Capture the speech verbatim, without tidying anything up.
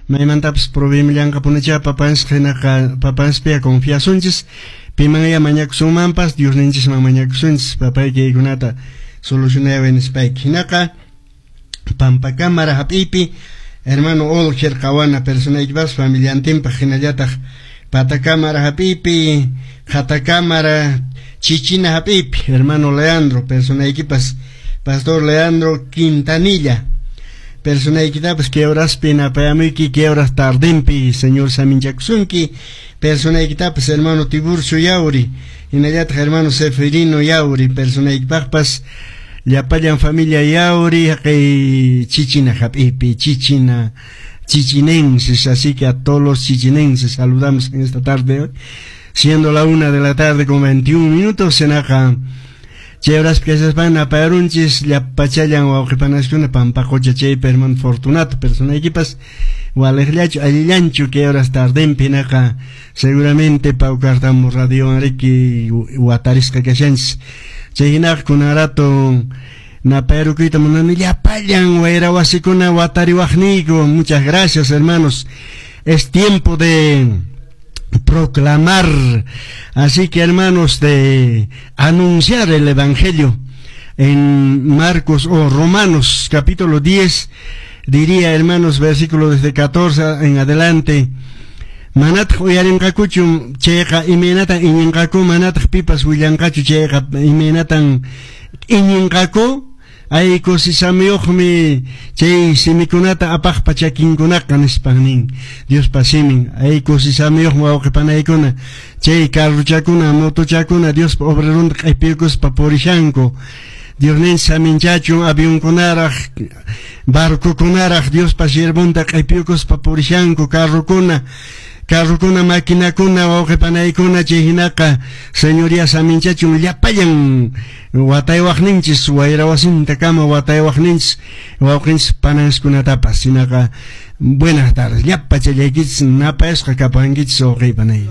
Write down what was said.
Maymantapas proveemillanqapunichá papanchis, hinaqa papanchispiya confiasunchis. Pimanya mañakusunmanpas, Diosninchisman mañakusunchis, papaykikunata solucionayaway nispayki. Hinaqa Pampakámara hap'iypi hermano Olger Qawana personaykipas familiantinpaq, hinallataq Patakámara hap'iypi, Qhatakámara, Chichina hap'iypi hermano Leandro personaykipas, pastor Leandro Quintanilla personaykitapas kay horaspi napayamuyki, kay horas tardempi Señor saminchakusunki. Personaykitapas hermano Tiburcio Yauri, hinallataq hermano Seferino Yauri personaykipaqpas, llapallan familia Yauri haqay Chichina hap'iypi, Chichina chichinenses. Así que a todos los chichinenses saludamos en esta tarde, siendo la una de la tarde con veintiún minutos. Hinaqa chay horaspi kashaspan napayarunchis llapachallan wawqipanaskuna Pampaqucha chaypi hermano Fortunato personaykipas, waliqllachu, allillanchu kay horas tardempi. Hinaqa seguramente Paucartambo radiowan riki watarisqa kashanchis. Chay hinaqa kunan rato napayarukuyta munani llapallan wayra wasikuna watariwaqniyku. Muchas gracias, hermanos. Es tiempo de proclamar, así que, hermanos, de anunciar el evangelio. En Marcos o Romanos capítulo diez, diría, hermanos, versículo desde catorce en adelante: Manataq uyarinqakuchu chayqa, imaynatan iñinqaku? Manataq pipas willanqachu chayqa, imaynatan iñinqaku? Ay, kusisamiyuqmi chay simikunata apaqpa chakinkunaqa, nispan nin Diospa simin. Ay, kusisamiyuqmi, wawqi panaykuna, chay carruchakuna, motochakuna Diospa obrerunta q'ipiykuspa purishanku. Diosninchis saminchachun avionkunaraq, barcokunaraq Diospa siervonta q'ipiykuspa purishanku, carrokuna, carrokuna, maquinakuna, wawqi panaykuna. Chay hinaqa Señoría saminchachun llapallan wataywaqninchis, wayra wasintakama wataywaqninchis wawqinchis pananskunatapas. Hinaqa buenas tardes llapachallaykichis, napayasqa kapankichis, wawqi panay.